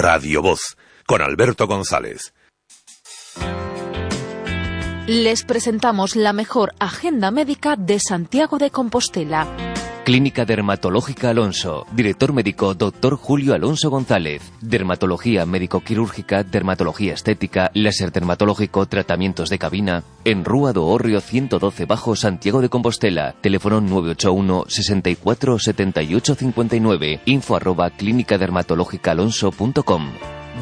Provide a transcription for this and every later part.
Radio Voz, con Alberto González. Les presentamos la mejor agenda médica de Santiago de Compostela. Clínica Dermatológica Alonso. Director médico Dr. Julio Alonso González. Dermatología médico-quirúrgica, dermatología estética, láser dermatológico, tratamientos de cabina. En Rúa do Hórreo 112 Bajo, Santiago de Compostela. Teléfono 981 64 78 59. info@clínicadermatológicaalonso.com.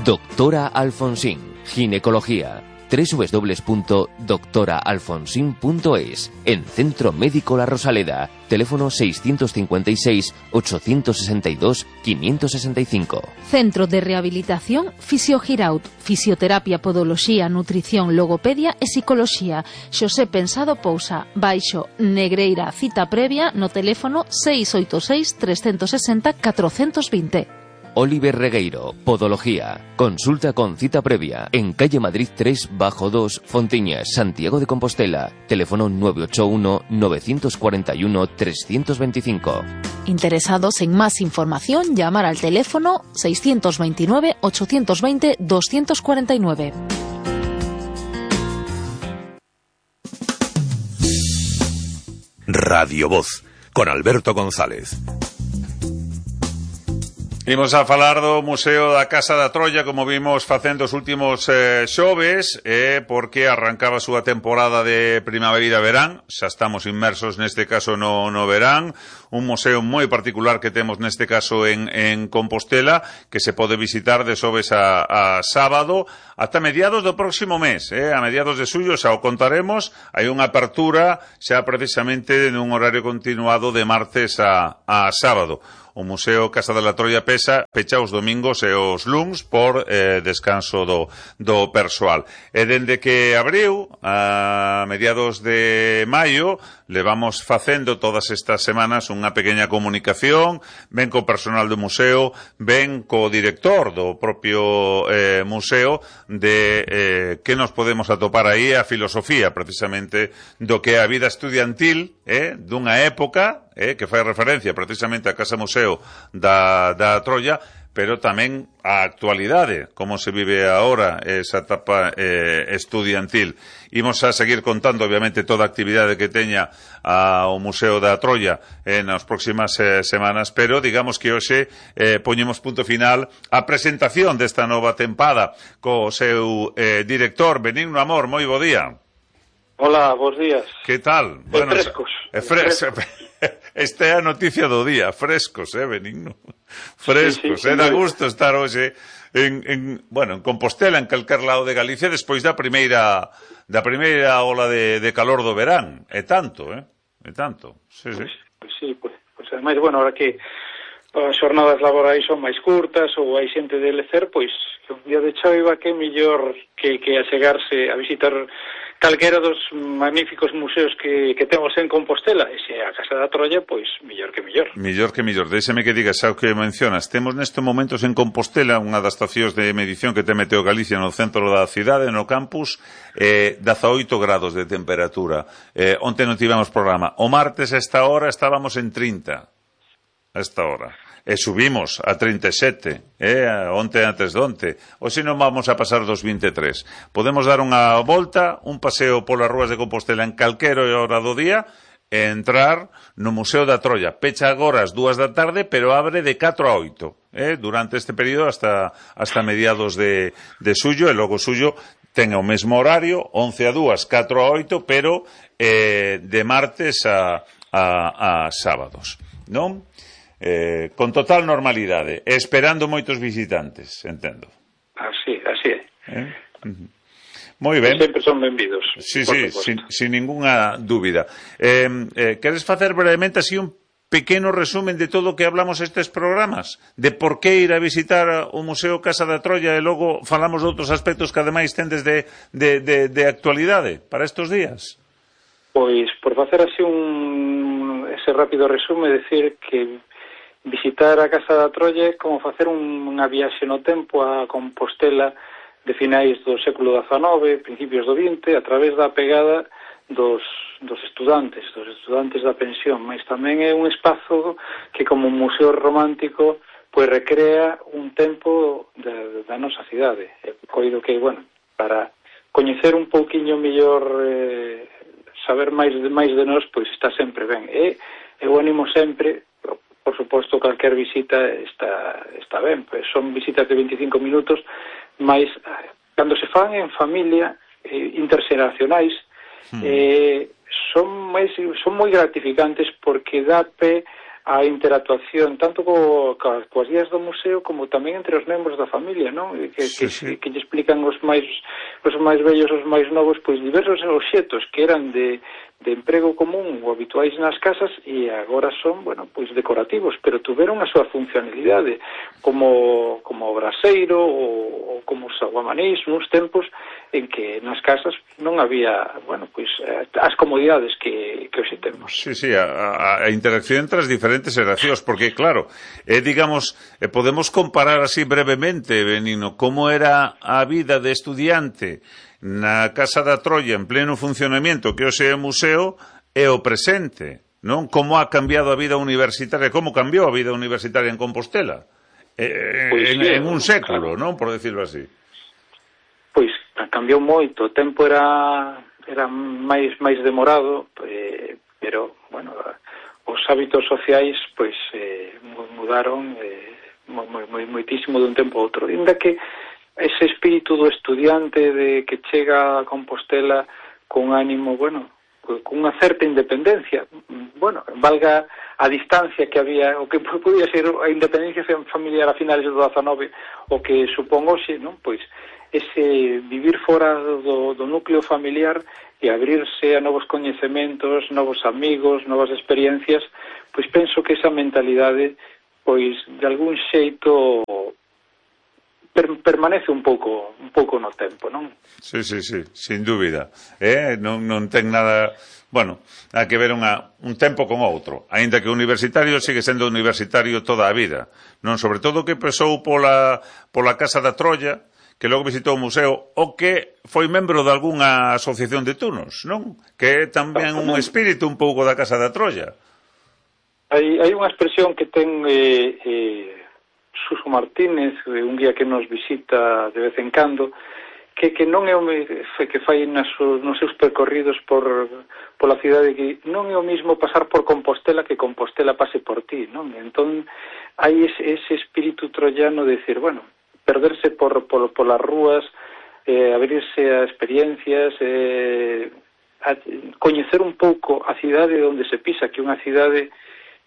Doctora Alfonsín. Ginecología. www.doctoraalfonsin.es. En Centro Médico La Rosaleda. Teléfono 656 862 565. Centro de Rehabilitación Fisiogiraut. Fisioterapia, podoloxía, nutrición, logopedia e psicoloxía. Xosé Pensado Pousa. Baixo Negreira. Cita previa no teléfono 686 360 420. Oliver Regueiro, Podología. Consulta con cita previa en calle Madrid 3 bajo 2, Fontiñas, Santiago de Compostela. Teléfono 981 941 325. Interesados en más información, llamar al teléfono 629 820 249. Radio Voz, con Alberto González. Imos a falar do Museo da Casa da Troia, como vimos facendo os últimos xoves, porque arrancaba a súa temporada de primavera-verán. Xa estamos inmersos neste caso no verán. Un museo moi particular que temos neste caso en Compostela, que se pode visitar de xoves a sábado ata mediados do próximo mes, a mediados de xullo xa o contaremos. Hai unha apertura xa precisamente nun horario continuado de martes a sábado. O Museo Casa da Troia pecha os domingos e os luns por descanso do persoal. E dende que abriu, a mediados de maio, levamos facendo todas estas semanas unha pequena comunicación, ben co personal do museo, ben co director do propio museo, de que nos podemos atopar aí, a filosofía precisamente do que é a vida estudiantil dunha época que fai referencia precisamente á Casa Museo da Troia, pero tamén a actualidade, como se vive agora esa etapa estudiantil. Imos a seguir contando, obviamente, toda a actividade que teña o Museo da Troia nas próximas semanas, pero digamos que hoxe poñemos punto final á presentación desta nova tempada co seu director, Benigno Amor. Moi bo día. Hola, bons días. Que tal? Bueno, frescos. Esta é a noticia do día, frescos, Benigno? Frescos, sí, dá gusto estar hoxe en Compostela, en calquer lado de Galicia, despois da primeira ola de calor do verán. É tanto, É tanto. Sí. Pues ademais, bueno, ahora que as xornadas laborais son máis curtas ou hai xente de lecer, pois un día de choiva que mellor que achegarse a visitar calquera dos magníficos museos que temos en Compostela. E se a Casa da Troia, pois, mellor que mellor. Mellor que mellor. Déxeme que digas ao que mencionas. Temos nestes momentos en Compostela unha das estacións de medición que ten Meteo Galicia no centro da cidade, no campus, 18 grados de temperatura. Onte non tivemos programa. O martes a esta hora estábamos en 30. A esta hora. E subimos a 37, onte antes de onte. Hoxe non vamos a pasar dos 23. Podemos dar unha volta, un paseo polas rúas de Compostela en calquera hora do día e entrar no Museo da Troia. Pecha agora as 2 da tarde, pero abre de 4 a 8, durante este período hasta mediados de xullo, e logo xullo ten o mesmo horario, 11 a 2, 4 a 8, pero de martes a sábados, non? Con total normalidade, esperando moitos visitantes, entendo. Así é. Moi ben. Sempre son benvidos. Sí, sin ninguna dúbida. Queres facer brevemente así un pequeno resumen de todo o que hablamos estes programas? De por que ir a visitar o Museo Casa da Troia e logo falamos de outros aspectos que ademais tendes de actualidade para estes días? Pois, por facer así ese rápido resume, decir que visitar a Casa da Troia é como facer unha viaxe no tempo a Compostela de finais do século XIX, principios do XX, a través da pegada dos estudantes da pensión, mas tamén é un espazo que como museo romántico pois recrea un tempo da nosa cidade. Coido que, bueno, para coñecer un pouquiño mellor, saber máis de nós, pois está sempre ben. E eu animo sempre, por suposto, calquer visita está ben, pois son visitas de 25 minutos, mas cando se fan en familia, interxeracionais, son moi gratificantes porque dá pé a interactuación tanto coas guías do museo como tamén entre os membros da familia, non? Que lle explican os máis vellos, os máis novos, pois diversos obxetos que eran de emprego común ou habituais nas casas e agora son, bueno, pois decorativos, pero tuveron a súa funcionalidade como braseiro ou como saguamanís nos tempos en que nas casas non había, bueno, pois as comodidades que hoxe temos. Sí, a interacción entre as diferentes xeracións, porque claro, digamos, podemos comparar así brevemente, Benigno, como era a vida de estudiante na Casa da Troia en pleno funcionamento que hoxe é museo e o presente, non? Como ha cambiado a vida universitaria, como cambiou a vida universitaria en Compostela en un século, claro, non? Por decirlo así. Pois cambiou moito, o tempo era máis demorado, pero, bueno, os hábitos sociais pois mudaron moitísimo dun tempo a outro. Ainda que ese espírito do estudiante de que chega a Compostela con ánimo, bueno, con unha certa independencia, bueno, valga a distancia que había, o que podía ser a independencia familiar a finales do 19, o que supón hoxe, non? Pois ese vivir fora do núcleo familiar e abrirse a novos coñecementos, novos amigos, novas experiencias, pois penso que esa mentalidade, pois de algún xeito permanece un pouco no tempo, non? Sí, sin dúbida. Non ten nada, bueno, hai que ver un tempo con outro, aínda que o universitario sigue sendo universitario toda a vida, non? Sobre todo que pasou pola Casa da Troia, que logo visitou o museo, o que foi membro de algunha asociación de tunos, non? Que é tamén un espírito un pouco da Casa da Troia. Hai unha expresión que ten Suso Martínez, un guía que nos visita de vez en cando, que non é o que fai nos seus percorridos pola cidade, que non é o mismo pasar por Compostela que Compostela pase por ti, non? Entón, hai ese espírito troiano de decir, bueno, perderse polas rúas, abrirse a experiencias, coñecer un pouco a cidade onde se pisa, que é unha cidade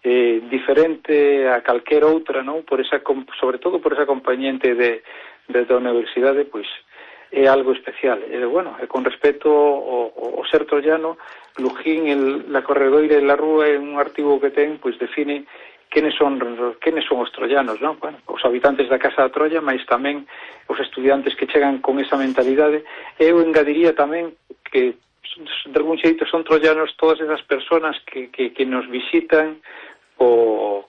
diferente a calquer outra, non? Sobre todo por esa compañente da universidade, pois é algo especial. Bueno, con respecto ao ser troiano, Lujín, la corredoira e la rúa, é un artigo que ten, pois define quenes son os troianos, non? Bueno, os habitantes da Casa da Troia, mas tamén os estudiantes que chegan con esa mentalidade. Eu engadiría tamén que de algún xeito son troianos todas esas persoas que nos visitan co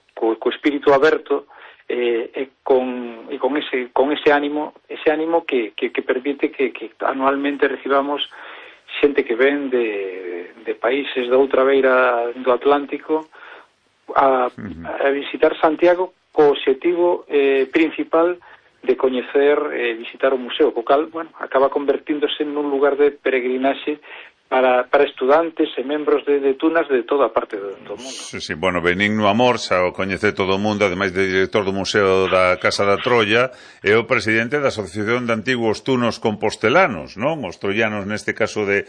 espírito aberto e con ese ánimo que permite que anualmente recibamos xente que ven de países da outra beira do Atlántico a visitar Santiago co obxectivo principal de coñecer e visitar o museo, co cal, bueno, acaba convertíndose nun lugar de peregrinaxe para estudantes e membros de tunas de toda a parte do mundo. Sí, bueno, Benigno Amor, xa o coñece todo o mundo, ademais de director do Museo da Casa da Troia, é o presidente da Asociación de Antigos Tunos Compostelanos, non? Os troianos neste caso de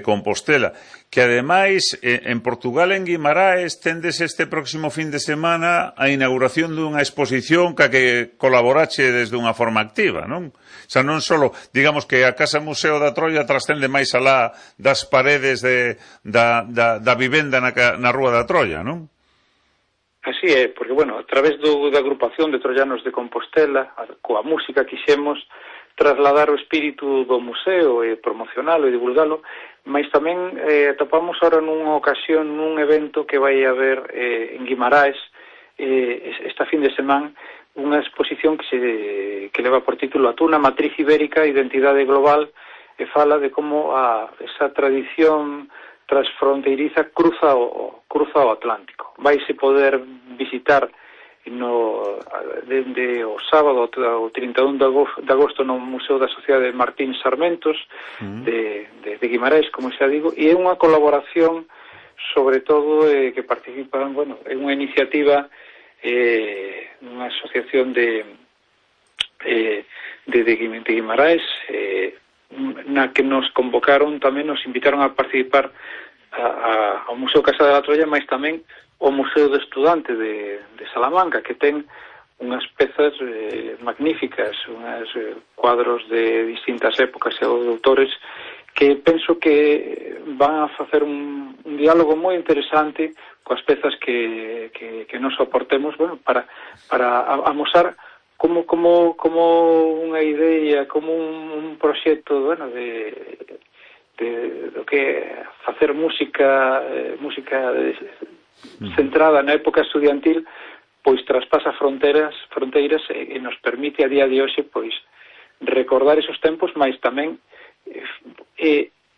Compostela, que ademais en Portugal, en Guimaraes, tendes este próximo fin de semana a inauguración dunha exposición que colaborache desde unha forma activa, non? O sea, non só, digamos que a Casa Museo da Troia trascende máis alá das paredes da vivenda na Rúa da Troia, non? Así é, porque, bueno, a través da agrupación de troianos de Compostela, coa música quixemos trasladar o espírito do museo e promocionalo e divulgalo, mas tamén atopamos ahora nunha ocasión, nun evento que vai haber en Guimaraes esta fin de semana, unha exposición que leva por título A Tuna, Matriz Ibérica, Identidade Global, e fala de como esa tradición transfronteiriza cruza o Atlántico. Vaise poder visitar dende o sábado o 31 de agosto no Museo da Sociedade Martín Sarmentos de Guimarães, como xa digo, e é unha colaboración sobre todo que participan, bueno, é unha iniciativa unha asociación de Guimarães na que nos convocaron tamén, nos invitaron a participar ao Museo Casa da Troia, mas tamén o Museo de Estudante de Salamanca, que ten unhas pezas magníficas, unhas cuadros de distintas épocas e autores que penso que van a facer un diálogo moi interesante coas pezas que nos aportemos, bueno, para amosar como unha idea, como un proxecto, bueno, do que facer música centrada na época estudiantil, pois traspasa fronteiras e nos permite a día de hoxe pois recordar esos tempos, mas tamén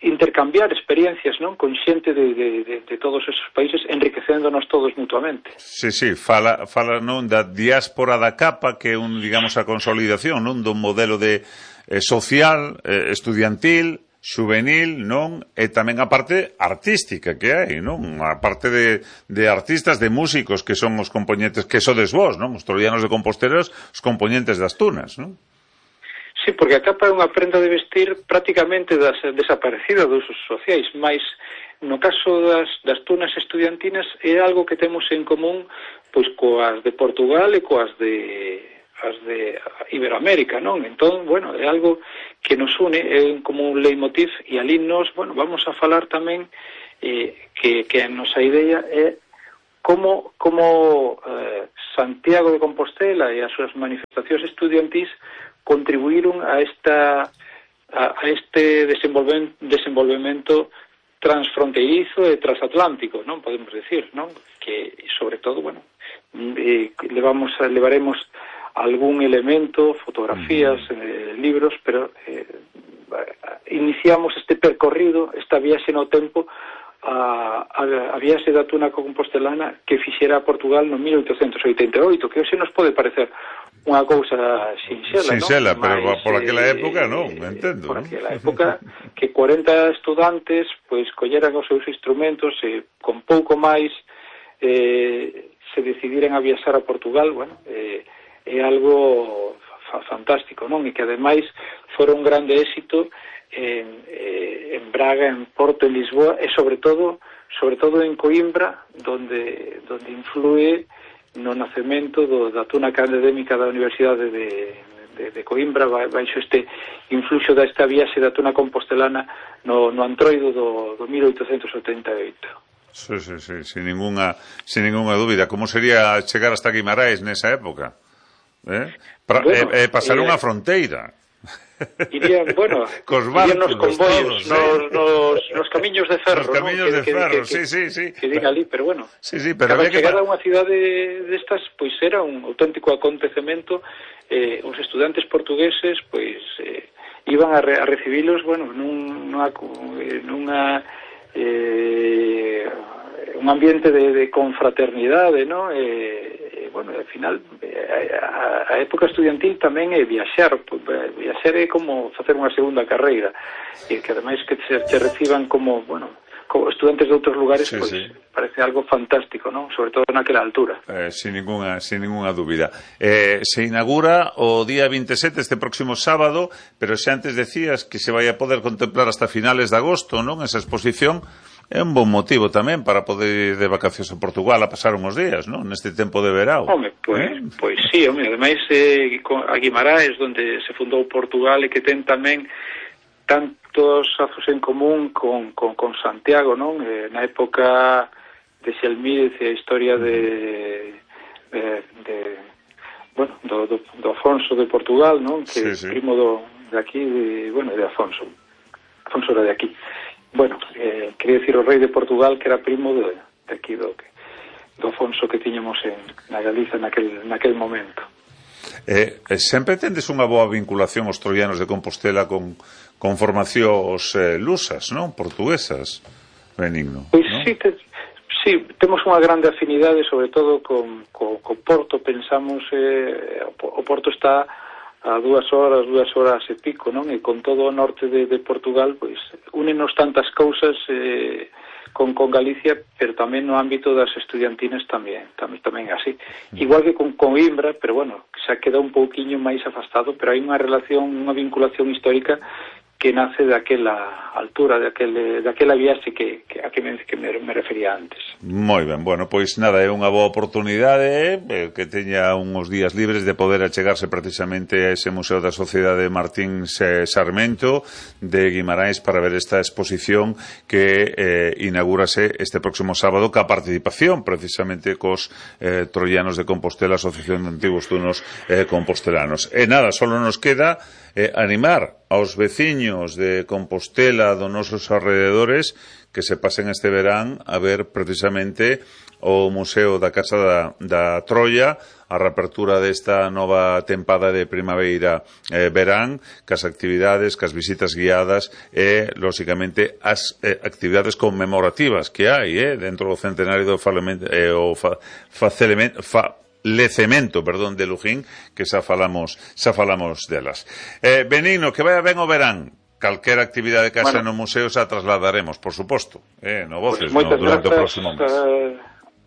intercambiar experiencias, non, con xente de todos esos países, enriquecéndonos todos mutuamente. Sí, fala non da diáspora da capa, que é digamos a consolidación, non, dun modelo de social, estudiantil, juvenil, non? E tamén a parte artística que hai, non? A parte de artistas, de músicos que son os componentes, que sodes vos, non? Os troianos de Compostela, os componentes das tunas, non? Sí, porque a capa é unha prenda de vestir prácticamente desaparecida dos usos sociais, mas no caso das tunas estudiantinas é algo que temos en común pois coas de Portugal e coas de Iberoamérica, non? Entón, bueno, é algo que nos une, é como un leitmotiv, e ali nos, bueno, vamos a falar tamén que a nosa idea é como Santiago de Compostela e as súas manifestacións estudiantís contribuíron a este desenvolvemento transfronteirizo e transatlántico, non? Podemos decir, non? Que, sobre todo, bueno, levaremos algún elemento, fotografías, libros, pero iniciamos este percorrido, esta viaxe no tempo, a viaxe da tuna compostelana que fixera a Portugal no 1888, que hoxe nos pode parecer unha cousa sinxela, non? Pero por aquela época non, entendo. Por aquela época que 40 estudantes pois colleran os seus instrumentos e con pouco máis se decidiran a viaxar a Portugal, bueno, é algo fantástico, non? E que ademais fora un grande éxito en Braga, en Porto, en Lisboa e sobre todo en Coimbra, donde influe no nacemento da tuna académica da Universidade de Coimbra, baixo este influxo desta viaxe da tuna compostelana no Antroido do 1888. Sí, sin ninguna dúbida. Como sería chegar hasta Guimarães nesa época? Pasar unha fronteira. Irían, bueno, irían nos convoios, nos camiños de ferro, nos camiños de ferro, sí. Que diga ali, pero bueno, pero cada chegada a unha cidade destas, pois era un auténtico acontecemento. Os estudantes portugueses, pois, iban a recibilos, bueno, un ambiente de confraternidade, ¿no? Bueno, al final a época estudiantil tamén é viaxar é como facer unha segunda carreira, e que ademais que te reciban como, bueno, como estudantes de outros lugares, sí. Parece algo fantástico, ¿no? Sobre todo naquela altura. Sin ninguna dúbida. Se inaugura o día 27, este próximo sábado, pero xa antes decías que se vai a poder contemplar hasta finales de agosto, non? Esa exposición é un bon motivo tamén para poder ir de vacacións a Portugal a pasar uns días, non? Neste tempo de verao. Home, pois sí, ademais a Guimarães, onde se fundou Portugal, e que ten tamén tantos lazos en común con Santiago, non? Na época de Xelmírez e a historia do Afonso de Portugal, non? Que é primo de aquí, de Afonso. Afonso era de aquí. Bueno, quería decir o rei de Portugal, que era primo de aquí do Afonso que tiñamos na Galiza naquel momento. Sempre tendes unha boa vinculación os troianos de Compostela con formacións lusas, non? Portuguesas, Benigno. Pois ¿no? Sí, temos unha grande afinidade, sobre todo con Porto. Pensamos, o Porto está a 2 horas e pico, non? E con todo o norte de Portugal, pois, únenos tantas cousas con Galicia, pero tamén no ámbito das estudiantinas tamén así. Igual que con Coimbra, pero bueno, xa queda un pouquiño máis afastado, pero hai unha relación, unha vinculación histórica que nace daquela altura, daquela viaxe a que me refería antes. Moi ben, bueno, pois nada, é unha boa oportunidade que teña uns días libres de poder achegarse precisamente a ese Museo da Sociedade Martín Sarmento de Guimarães para ver esta exposición que inaugúrase este próximo sábado ca participación precisamente cos troianos de Compostela, Asociación de Antigos Tunos Compostelanos. E nada, solo nos queda animar aos veciños de Compostela, dos nosos alrededores, que se pasen este verán a ver precisamente o Museo da Casa da Troia, a reapertura desta nova tempada de primavera-verán, cas actividades, cas visitas guiadas e, lóxicamente, as actividades conmemorativas que hai dentro do centenario do lecemento, de Lujín, que xa falamos delas. Benigno, que vaya ben o verán. Calquera actividade que haxa no museo xa trasladaremos, por suposto, no Voces, durante o próximo mes.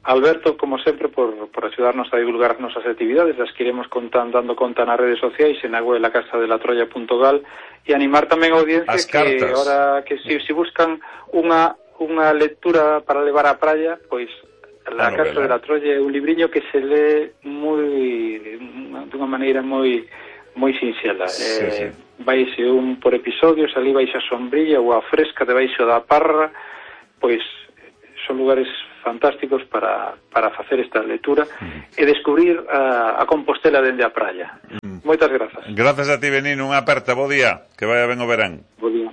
Alberto, como sempre, por axudarnos a divulgar as nosas actividades, as que iremos dando conta nas redes sociais e na web lacasadelatroia.gal, e animar tamén a audiencia que ahora que se buscan unha lectura para levar á praia, pois La Casa de la Troya é un libriño que se lee dunha maneira moi sinxela. Sí. Vaise un por episodios, ali vais a sombrilla ou a fresca debaixo da parra, pois son lugares fantásticos para facer esta lectura e descubrir a Compostela dende a praia. Moitas grazas. Grazas a ti, Benigno, unha aperta, bo día, que vaya ben o verán. Bo día.